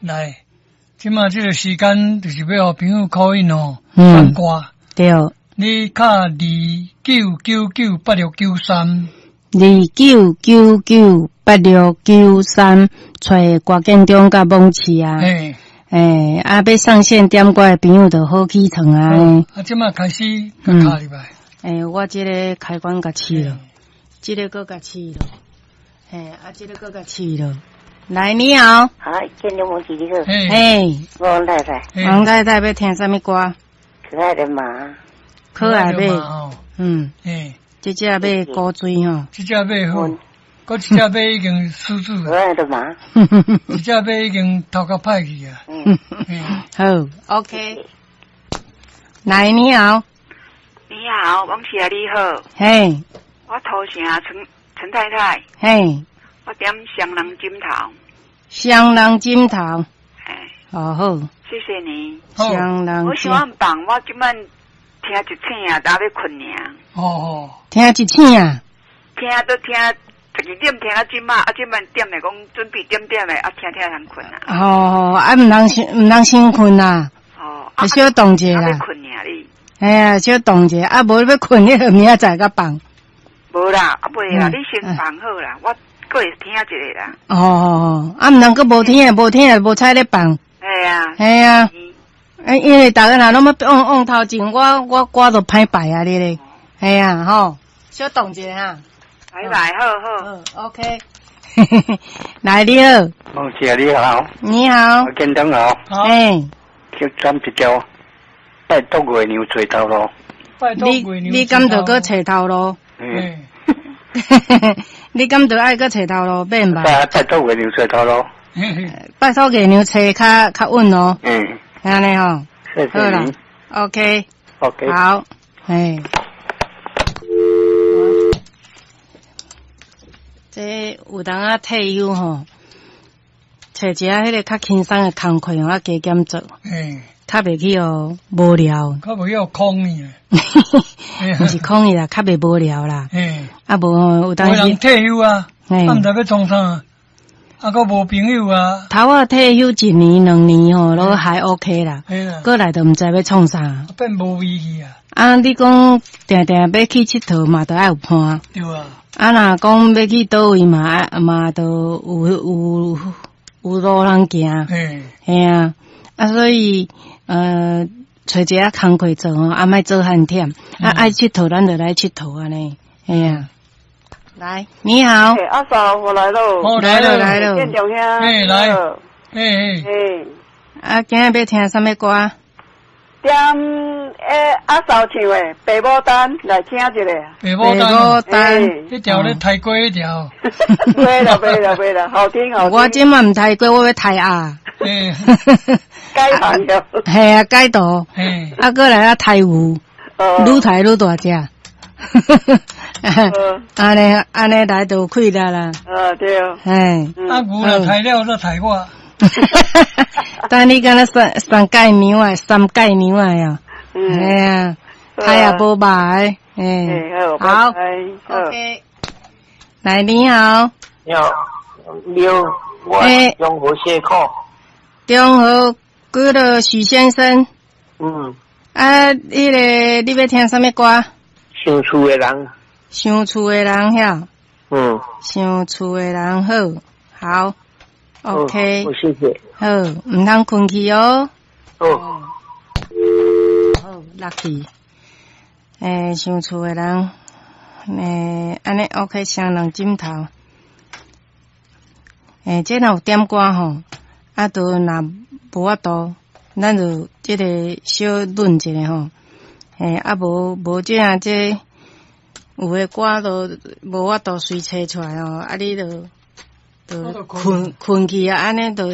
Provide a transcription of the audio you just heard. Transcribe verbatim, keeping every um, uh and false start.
來，這馬這個時間就是欲予朋友 call in 哦，嗯放歌。對，你敲二九九九八六九三，二九九九八六九三，揣郭建中佮網市啊。嘿，欸，啊，欲上線點歌的朋友就好起床啊。啊，這馬開始共敲入來。欸，我這个開關共試了，這个閣共試了，嘿，啊，這个閣共試了。來，你好。好，建中網市你好。嘿，嘿，王太太，嘿王太太欲聽啥物歌？可愛的馬，可愛馬，吼，嗯，嘿，這隻馬古錐吼。這隻馬好，閣一隻馬已經死主可啊，愛的馬，一隻馬已經頭殼歹去啊。嗯，嘿，好，OK。來，你好。你好，王姐你好，嘿，我土城陳陳太太，嘿，我點雙人枕頭，雙人枕頭，哎，哦好，謝謝你。好，雙人我想按放，我這擺聽一醒啊，就欲睏爾，哦哦，聽一醒啊，聽都聽十二點聽到這擺，啊這擺點的講準備點點的，啊聽聽通睏啊。哦，啊毋通先毋通先睏啦，哦，啊小動一下啊欲啦，睏爾你，哎呀，小動一下，啊無欲睏，你就明仔載閣放。無啦，啊袂啦，嗯你先放好啦，我閣會聽一下啦。哦哦，啊毋通閣無聽，無聽無彩咧放。哎啊，嘿啊，嗯欸因為逐家若攏欲往往頭前，我我歌就歹排啊你咧。嘿啊，吼，小動一下哈。拜拜，好好。好，OK。來，你好，王姐你好，你好，我建中好，好，欸，去點一條拜託月娘揣頭路。拜託你月娘。你敢著閣揣頭路？嗯，嘿，你敢著愛閣揣頭路？免吧？拜拜託月娘揣頭路。嘿嘿，拜託月娘揣較較穩哦，嗯，按呢吼。謝好啦謝你。，OK， OK。好，嘿。這有當仔退休吼，揣一下彼个較輕鬆的工課吼，啊加減做，嘿，較袂去予無聊。較袂予空去啊。毋是空去啦，較袂無聊啦。嘿，啊無吼，有當有人時，退休啊，嘿啊毋知欲創啥，啊，閣無朋友啊，頭仔退休一年兩年吼，攏還 OK 啦。嘿啦，過來就毋知欲創啥。變無味去啊，啊，你講定定欲去𨑨迌嘛，著愛有伴。對啊，啊，若講欲去佗位嘛，啊嘛著有有有路通行。嘿，嘿啊，啊，所以呃，揣一下工課做吼，啊，莫做遐忝，啊，愛𨑨迌咱就來𨑨迌按呢，嘿啊。來，你好，欸阿嫂，我來囉。哦，來來了，了來了建中兄。嘿來你好嘿嘿，嘿，啊，今日欲聽啥物歌？點欸阿嫂唱的《白牡丹》來聽一下。白牡丹，牡丹欸彼條咧刣雞彼條，袂啦袂啦袂啦，好聽好聽。我這馬毋刣雞，我欲刣鴨。嘿，改行了。嘿啊，改圖。嘿，啊，閣來啊刣牛，哦愈刣愈大隻。按呢按呢來就有氣力啦。呃對。嘿。嗯啊牛若刣了才刣我，但你敢若三三界娘啊，三界娘啊呀？嗯。嘿啊，刣也無肉的，嘿。欸好，好拜拜。好，OK。來，你好，你好，你好，我欸中和蟹口，中和幾落許先生。嗯，啊，彼个你欲聽啥物歌？想厝的人，想厝的人遐，嗯想厝的人好，好，OK，好，謝謝，好，毋通睏去哦。好，好，落去。欸，想厝的人，欸，按呢 OK，雙人枕頭。欸，這若有點歌吼，啊，都若無法度，咱就這个小論一下吼。欸，啊無無這樣這有的歌都無法度隨揣出來吼，啊你就就睏睏去啊，按呢就。